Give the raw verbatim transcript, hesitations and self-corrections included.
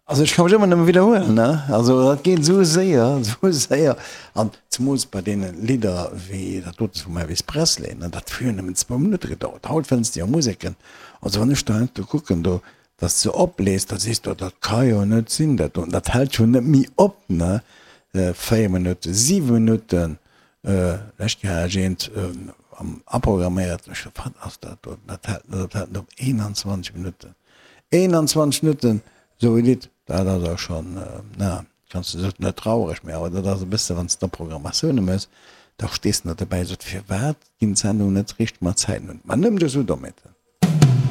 Also ech ka mech ëmmer nëmme widderhuelen, ne? Also dat geet esou séier, esou séier. An zemools bei deene Lidder wéi dat dote vum Elvis Presley, ne, dat huet jo nëmmen zwou Minutte gedauert. Haut fënns de jo Museken, also wann ech do heiansdo kucken do, dass de oplees, da sees de, dat ka jo net sinn dat do. Dat hält jo net méi op, ne? Véier Minutten, siwe Minutten, lescht Kéier hat ech eent aprogramméiert, ech sot, wat ass dat do? Dat hält net op, dat hält net op, eenanzwanzeg Minutten, eenanzwanzeg Minutten! Sou e Lidd, dat ass och schonn, na, kanns de sot net traureg, mee awer dat ass e bësse wann s de da Programmatioune méchs, da stees de net dobäi, sot, firwat ginn d'Sendungen net richteg mat Zäiten un? Mä nëmmen dech esou dommheeten.